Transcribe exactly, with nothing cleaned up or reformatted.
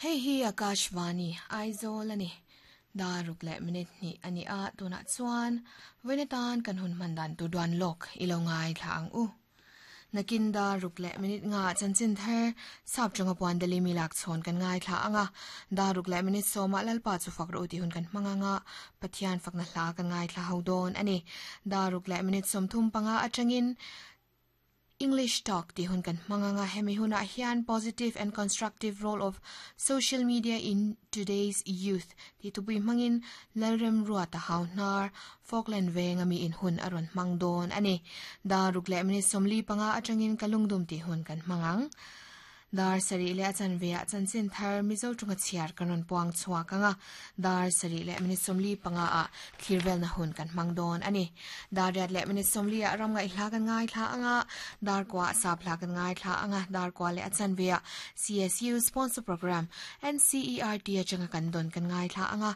Hei hi Akashvani Aizawl ani daruk leh minute hnih ani a tunah chuan vawiin kan hun hman dan tur duan lawk ilo ngai thla ang u. Nakin daruk leh minute nga chanchin thar sap chunga puan dali mi lak chhawn kan ngai thla anga daruk leh minute sawma lalpa chu fak ro ti hun kan hmanga nga Pathian fakna hla kan ngai thla ho dawn ani daruk leh minute sawm thum panga atangin English Talk ti hun kan hmanga nga hemi huna hian positive and constructive role of social media in today's youth ti tupui hmangin lalrem ruata hauhnar Falkland veng ami in hun aron hmang dawn ani daruk leh minute sawmli panga atangin kalungdum ti hun kan hmangang dar sari le achan ve a chanchin thar mizo tunga chiar kanon puang chuak anga dar sari le minute sawmli panga a thirvel na hun kan hmang dawn ani dar riat le minute sawmli a ram ngai hla kan ngai thla anga dar kwa sa phla kan ngai thla anga dar kwa le achan ve a C S U sponsor program N C E R T achanga kan don kan ngai thla anga.